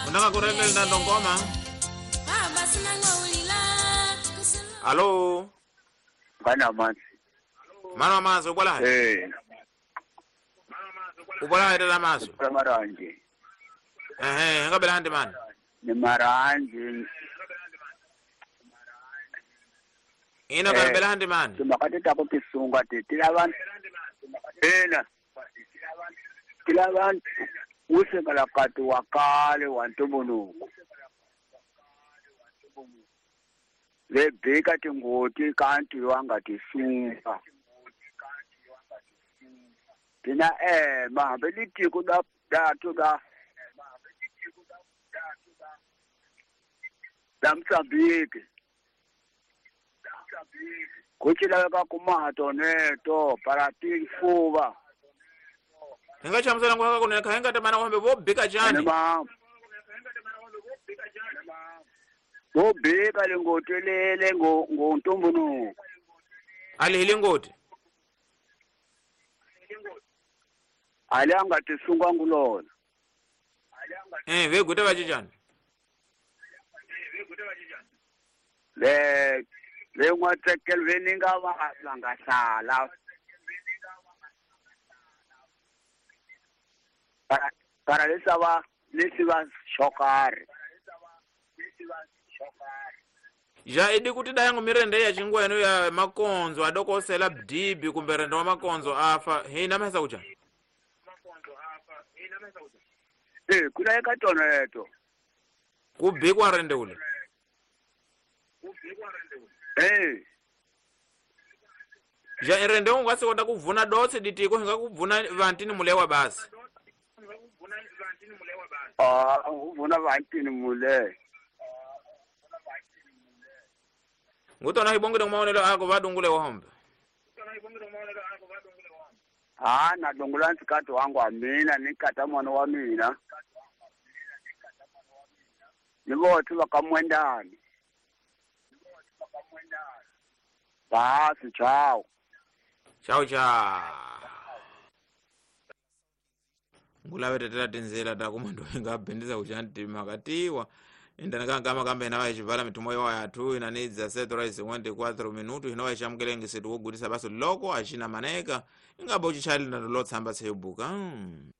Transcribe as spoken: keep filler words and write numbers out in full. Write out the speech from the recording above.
Unanga kurele na ndongoma. Alo. Bana manzi. Mano manzi ubala. Eh. Ubala ida maso. Maranje. Eh, ngabela handi man. Ni maranje. Ina ngabela handi man. Tumakati tapo kisunga tila ena. Kila bantu usekalakati wakale wantumbunuku. Lebheka tingoti kanti wangatisunga. Tina eh mahambe litiko da datu da da Mozambique. Kuchila kumato neto para tifuba. Hinga chamzela ngwa kuna kahenga tamana wambe bo bika jani. Bo bika lingotelele ngo ngontumbunuku. Ali hilingoti. Ali angatisunga ngulona. Eh veguta vachijani. Le le ngwatsekel veninga va vangasala. Para para lesava lesiva shokare. Ja idi kuti dayangu mirende ya chingweno ya makonzo adokosela bdibi kumbe rendo wa makonzo afa hina mesa kucha. Eh kuna yakatona yeto. Kubikwa rende ule. Eh. Ja irende ungasi kwenda kuvuna dotse ditiko hinga kuvuna vantini mulewa basi. Ah, uvuna vantini mule. Ngutona hibongile maonelo ako vadungule wahombe. Ah, na dungula nsikati wangu amina nikata mwana wa mina. Nivothi vakamwendani. Basi chao. Chao chao. Ngulave tetela tinzela takumando ingapendeza kuchanti makatiwa. Indana kama kamba inawa ichivala mitumo yawa yatu inanidza setora cinquenta e quatro minuto inawa ichamkelenge setu wogutisa baso loko achina maneka ingabo chichali na lotsamba sebuka. Mm.